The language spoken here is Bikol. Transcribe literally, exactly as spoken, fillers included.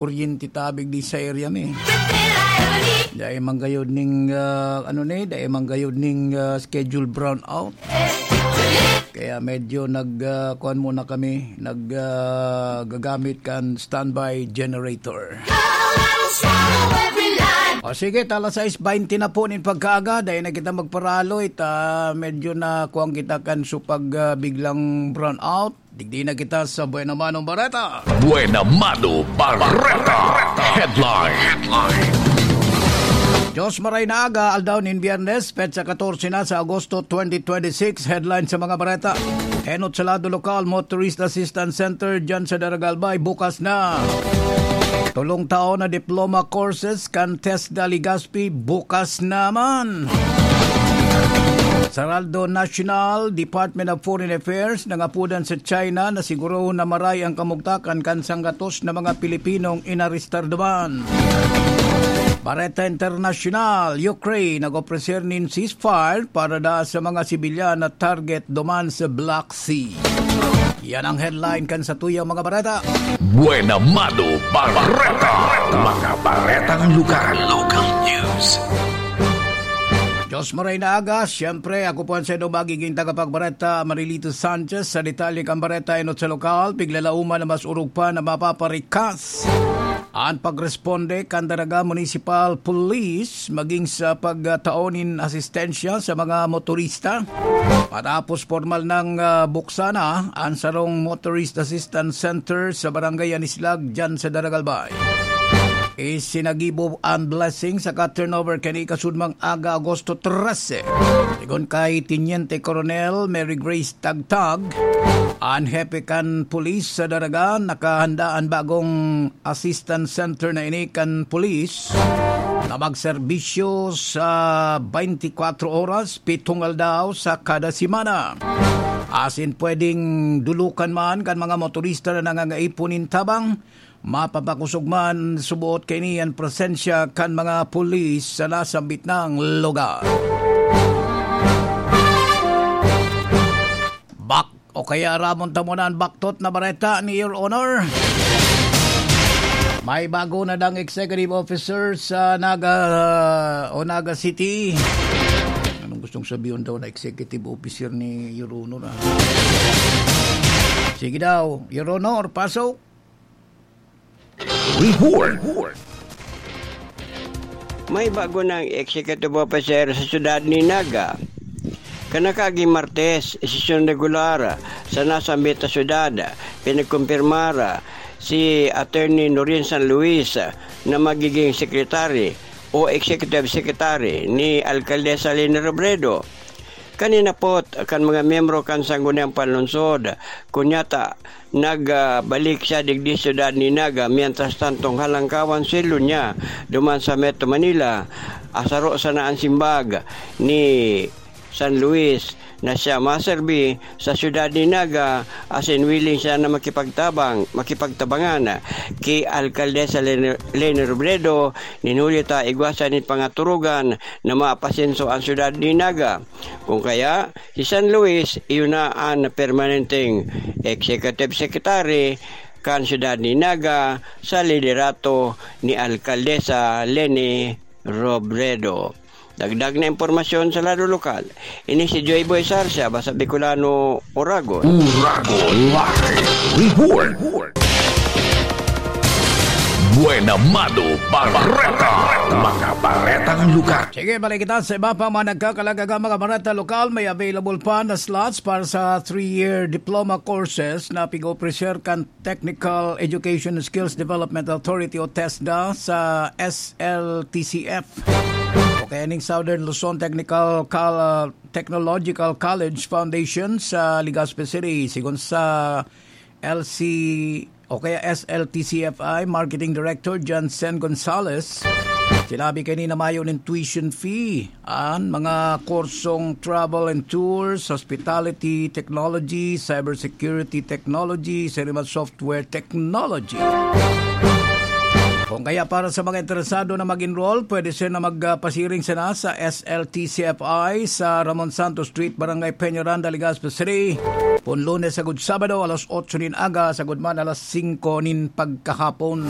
kuryente tabi digdi sa area mi. Dai man gayod ning, ah, ano ni, dai man gayod ning, ah, schedule brownout. Kaya medyo nag, ah, kuwan muna kami, nag, ah, gagamit kan standby generator. O sige, alas sais baynte na po nin pagkaaga, dai na kita magparaloy, ta medyo na kuwan kita kan supag, ah, biglang brownout. Digdi na kita sa Buena Mano Bareta. Buena Mano Bareta. Headline. Dios maray na aga, aldaw nin Biyernes, petsa katorse na sa Agosto twenty twenty-six. Headline sa mga bareta. Enot sa lado lokal, Motorist Assistance Center dyan sa Daragalbay, bukas na. Tolong taon na diploma courses kan TESDA Legazpi, bukas naman. Sa Heraldo National, Department of Foreign Affairs, nangapodan sa China na siguro na maray ang kamugtakan kan sanggatos na mga Pilipinong inarestar duman. Bareta International, Ukraine nag-opreser nin ceasefire para da sa mga sibilyan na target duman sa Black Sea. Yan ang headline kan satuyang mga bareta. Buena Mano Bareta. Mga baretang lugar. Local news. Dios maray na aga. Siyempre, ako po ang sendo magiging tagapagbareta, Marilito Sanchez. Sa detalye kan bareta, enot sa lokal, piglalauman na mas urog pa na mapaparikas an pagresponde kan Daraga Municipal Police maging sa pagtao nin asistensya sa mga motorista. Matapos pormal nang, ah, buksan na an sarong Motorist Assistance Center sa Barangay Anislag, dyan sa Daragalbay. Isinagibo an blessing saka turnover kani kasudmang aga, Agosto trese. Sigon kay Teniente Coronel Mary Grace Tagtag, an hepe kan pulis sa Daraga, nakahanda an bagong assistance center na ini kan pulis na magserbisyo sa twenty-four oras, pitong aldaw sa kada semana. Asin pwedeng dulukan man kan mga motorista na nangangaipo nin tabang, mapapakosog man suboot kaini an presensya kan mga pulis sa nasambit na lugar. Bak o kaya ramon ta muna an baktot na bareta ni Your Honor. May bago na dang executive officer sa Naga, o Naga City. Anong gustong sabihin daw na executive officer ni Your Honor, ah? Sige daw, Your Honor, pasok. Report. May bago nang executive officer sa siyudad ni Naga. Kan nakaaging Martes, sesyon regular sa nasambit na siyudad, pinagkumpirmar si Attorney Noreen San Luis na magiging secretary o executive secretary ni Alcaldesa Leni Robredo. Kan hinapot kan mga miyembro kan Sangguniang Panlungsod, kun yata nagbalik siya digdi siyudad ni Naga, mientras tantong halangkawan sweldo niya duman sa Metro Manila, asaro sana an simbag ni San Luis na siya maserbi sa siyudad ni Naga, asin willing siya na makipagtabang, makipagtabangan ki Alcaldesa Leni, Leni Robredo, nin huli ta igwa siya nin pangaturugan na mapasenso an siyudad ni Naga. Kung kaya, si San Luis, iyo na an permanenteng executive secretary kan siyudad ni Naga sa liderato ni Alcaldesa Leni Robredo. Dagdag na impormasyon sa lado lokal. Ini si Joy Boy Sarsia, basta Bicolano, Oragon. Oragon Live Report. Buena Mano Bareta. Mga baretang lugar. Sige, balik kita sa iba pa mga nagkakalagaga, mga bareta lokal. May available pa na slots para sa three-year diploma courses na pig-ofrecer kan Technical Education Skills Development Authority o TESDA sa S L T C F o kaya ning Southern Luzon Technical Col-, Technological College Foundation sa Legazpi City. Sigon sa L C o kaya S L T C F I Marketing Director Jansen Gonzalez, sinabi kanina mayo nin tuition fee an mga kursong travel and tours, hospitality, technology, cybersecurity technology, sirima software technology. Kung kaya para sa mga interesado na mag-enroll, pwede sila na magpasiring sana sa S L T C F I sa Ramon Santos Street, Barangay Peñaranda, Legazpi City. Pun Lunes sagud Sabado, alas otso nin aga, sagud man alas singko nin pagkahapon.